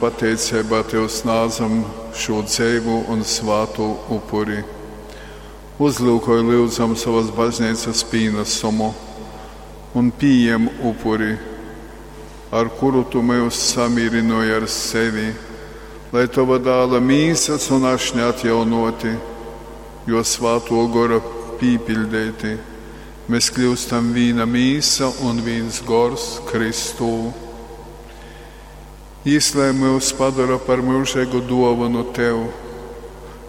Pateiceibā Tev snādzam šū dzeivū un svātū upuri. Uzlyukoj, lyudzam, sovas bazneicas pīnasumu un pījem upuri, ar kuru Tu myus samīrynōji ar sevi, lai Tova Dāla mīsas un ašņa atjaunōti, Jō Svātō Gora pīpiļdeiti, mēs kļyustam vīna mīsa un vīns gors Kristū. Jis lai myus padora par myužeigu duovonu Tev,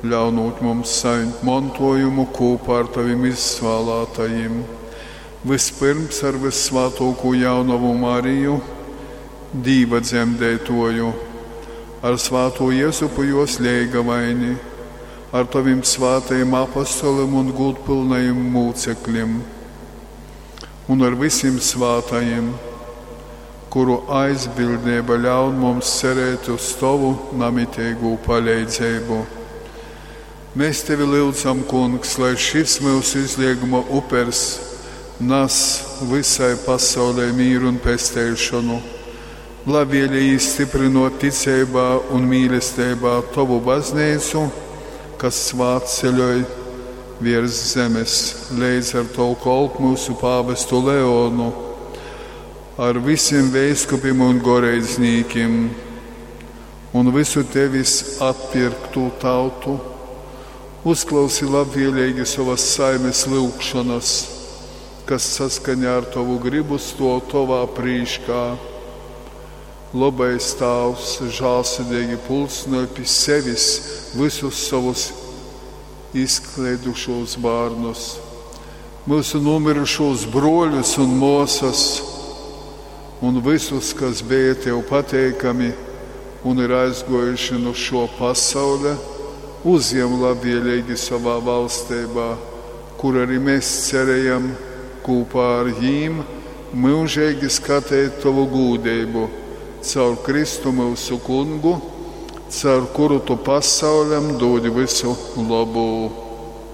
ļaunūt mums sajimt montuojumu kūpā ar Tovim izvālātajim, vyspyrms ar vyssvātuokū jaunovu Mariju, Dīva dzemdeituoju, ar svātū Jezupu juos leigavaini, ar Tovim svātajim apostolim un gūdpylnajim mūceklim un ar vysim svātajim, kuru aizbildneiba ļaun mums cerēt uz Tovu namiteigū paleidzeibu. Mēs Tevi lyudzam, Kungs, lai šis myusu izlieguma upers nas vysai pasaulei mīru un pesteišonu. Labvēlīgi stiprinot ticeibā un mīlesteibā Tovu bazneicu, kas svātceļoj viers zemes, leidz ar Tovu kolpu myusu pāvestu Leonu, ar visiem veiskupim un goreidznīkim un visu Tevis atpirktū tautu. Uzklausi labvēlīgi sovas saimes lyugšonas, kas saskaņā ar Tovu gribu stuov Tovā prīškā. Lobais Tāvs žālsirdīgi pulcynoj pi sevis vysus sovus izkleidušūs bārnus, myusu nūmyrušūs bruoļus un muosas, un vysus, kas beja Tev pateikami un ir aizguojuši nu šuo pasauļa, uzjem labvēlīgi sovā valsteibā, kur arī mēs cerējam kūpā ar jīm myužeigi skateit Tovu gūdeibu caur Kristu myusu Kungu, caur kuru Tu pasauļam dūdi vysu lobū.